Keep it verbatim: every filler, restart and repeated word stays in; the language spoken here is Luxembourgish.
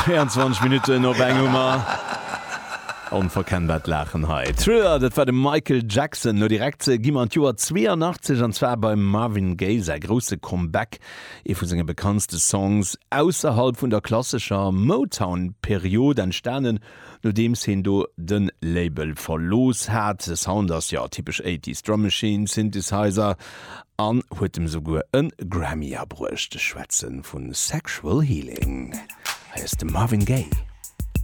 Zwéianzwanzeg Minutten op eng hu mer. Onverkennbart Laachen hei. Thriller, dat war de Michael Jackson. Lo direkt gi mer an d'Joer zweeanachtzeg, an zwar beim Marvin Gaye säi grousse Comeback, ee vu senge bekanntste Songs ausserhalb vun der klassescher Motown-Period, entstanen nodeems hien do de Label verlooss hat. De Sound ass, jo, typesch Eighties, Drum Machine, Synthesizer, an huet em souguer e Grammy abruecht. Ech schwätze vu Sexual Healing. Hei ass de Marvin Gaye.